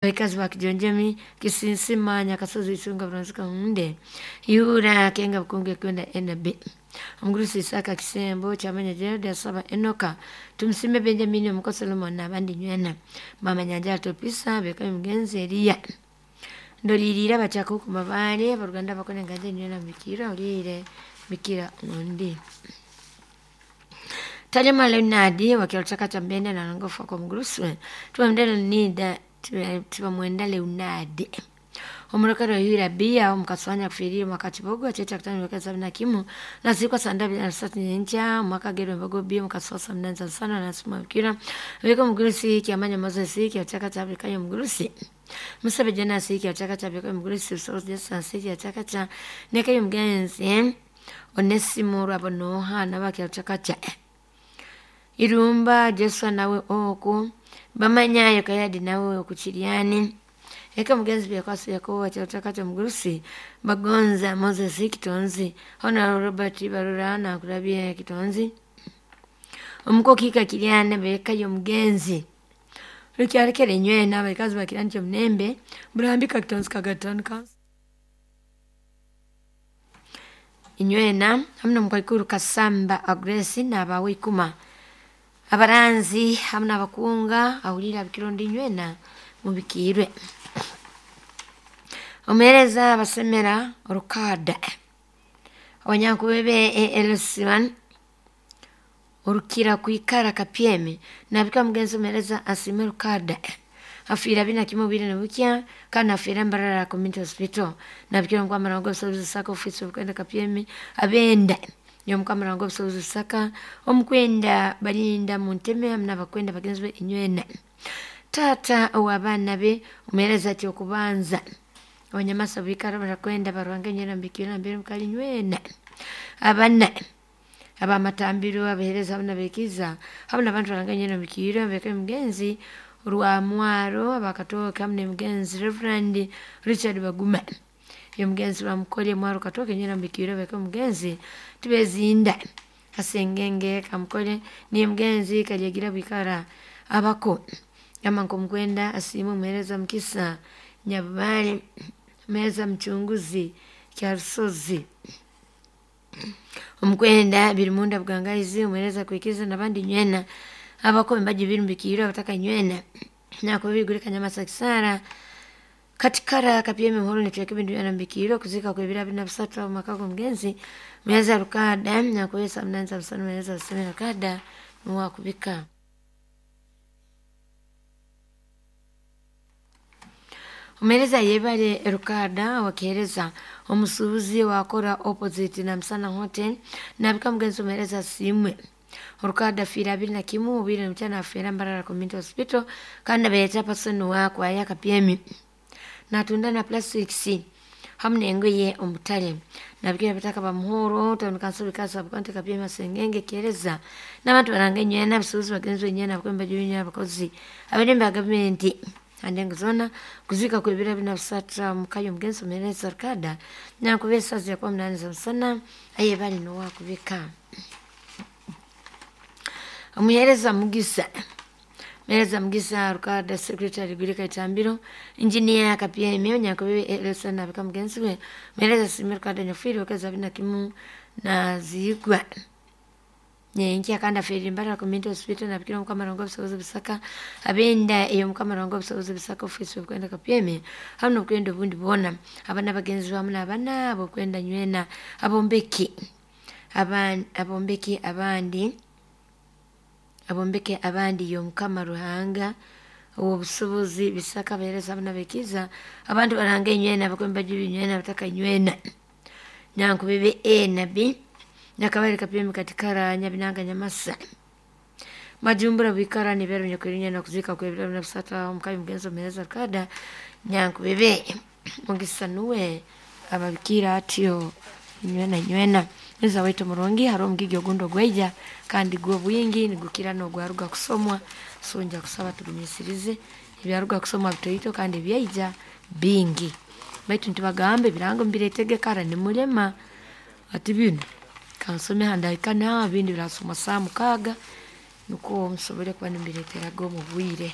Abakazi ba Kijonjemi, Kisinsima, Nyakasozi, Isunga, Buronzika, Hunde, Ihura, Kenga, Bukungu, Kwenda, NB. Omugurusi Isaka Kisembo, Kyamanya Gerald, Asaba Enoka, Tumusime Benjamin, Omuko Solomon n'abandi nywena. Mama Nyanja Topisa, Beka Mugenzi Eliya. Ndolirira bachaka ku mabale, abaruganda bakone nganje nywena mbikira, olire bikira undi. Talima Leonard wakialutaka cha mbende na nangofa kwa mgurusi tubamwenda nida tubamwenda Leonard omurokero yura bia omukaswanya kufiria mwaka kibogo checha kutano weka sabini na kimu na zikwa sanda bila sati nyencha mwaka gero mbogo bia mukaswasa mnanza sana na suma kira weka mgurusi kiamanya Moses kiachaka cha Afrika ya mgurusi Musabe jana siki achaka cha beka mgurusi usozi jasa siki achaka cha neka yumgenzi Onesimo Rabonoha nabakiachaka cha Irumba Joshua nawe oku bamanyayo kayadi nawe okuchiryani eka mugenzi byakwasi yakobo kyataka kya mugurusi bagonza Moses Kitonzi Honorable Robert Barura nakulabye Kitonzi omukokika kiryana beka yomugenzi lukyalekere nywena abakazi bakirani kyomunembe burambika Kitonzi kagatano kansi inywena hamwe nomukaikuru Kasamba Agnes n'abawe ikuma abaranzi hamwe n'abakunga ahurira abikirondo inywena mubikirwe omuhereza abasemera orukada abanyankubebe LC1 orukira kwikara kapyeme nabika mugenzi omuhereza asime rukada afiira bina kimwe bwire nibukya kandi afiira Mbarara Community Hospital nabikira omukwamara obusobozi Saka ofisi obukwenda kapyeme abenda yomukwamara obusobozi Saka omukwenda balinda munteme hamwe n'abakwenda bagenzi be inywena tata ow'abaana be omuhereza ati okubanza abanyamasa bikara barakwenda barwanga nywena mbikira mbere mukali nywena abana abamatambiro abahereza hamwe n'abekiza hamwe n'abantu baranga nywena mbikira beka mugenzi rwamwaro abakatoke hamwe n'omugenzi Reverend Richard Baguma yomugenzi bamukole mwaro katoke nywena mbikira beka mugenzi tubezinda asengenge kamukole niye mugenzi kalyagira bwikara abako ama nkomukwenda asiime omuhereza Mukisa Nyabubale omuhereza Muchunguzi Kyarusozi omukwenda Birimunda Bugangaizi omuhereza Kwikiza n'abandi nywena abako embaji birumbikirwe abataka nywena nakubigure Kanyamasa Kisara katikara kapyeme muhoro nitweka ebintu byona mbikirwe okuzika kwebira bina bisatu omu maka g'omugenzi muhereza Rukada nakubeesa munanza busano muhereza Buseme Rukada nuwe akubika. Omuhereza yebare Rukada wakihereza omusuubuzi wakora opposite na Musana Hotel nabika mugenzi omuhereza asiimwe Rukada afiire abiri na kimu obwire nibukyana afiira Mbarara Community Hospital kandi abeeta person wakwaya kapyemi natunda na plastics hamwe n'engoye omu butare nabikira abataka ba Muhoro town council bikasa bukonte kapyemi asengenge kihereza n'abantu baranga enywena abasuubuzi bagenzi benywena abakwemba benywena abakozi abarembe ba gavumenti andengo zona kuzika kwebira bina bisatra mukayo mugenzi omuhereza Rukada nakuba esazi yakuba munani za musana aye bali nowakubika omuhereza Mugisa Muhereza Mugisa Rukada secretary Gwirika Itambiro engineer Kapyeme onyankubebe Elsa nabika mugenzi we muhereza Sime Rukada nyafiire wekeza bina kimu na zigwa nyenkya kandi afiire Mbarara Community Hospital nabikira omukamara obusobozi Busaka abenda eyo omukamara obusobozi Busaka ofisi obukwenda Kapyeme hamwe n'obukwenda obundi bwona abana bagenzi bamu n'abana abokwenda nywena abombeki abombeki abandi abombeke abandi yomukama Ruhanga ow'obusobozi Bisaka abahereza hamwe n'abekiza abantu baranga enywena abakwemba nywena abataka nywena nyankubebe A na B nyakabale kapyeme katikara nyabinanga nyamasa majumbura bwikara nibero nyakwirinya na kuzika kwebira na busata omukabi mugenzi omuhereza Rukada nyankubebe Mugisa nuwe ababikira atyo nywena nywena neza waitu murungi hariho omugigi ogundi ogwaija kandi gwo bwingi nigukira n'ogwaruga kusomwa so nja kusaba tugumisirize ebyaruga kusomwa bitoito kandi ebyaija bingi baitu ntibagamba ebirango mbiretege kara nimulema ati binu kansome handahika naha ebindi birasomwa saaha mukaaga nukwo musobole kuba nimbireteraga omu bwire.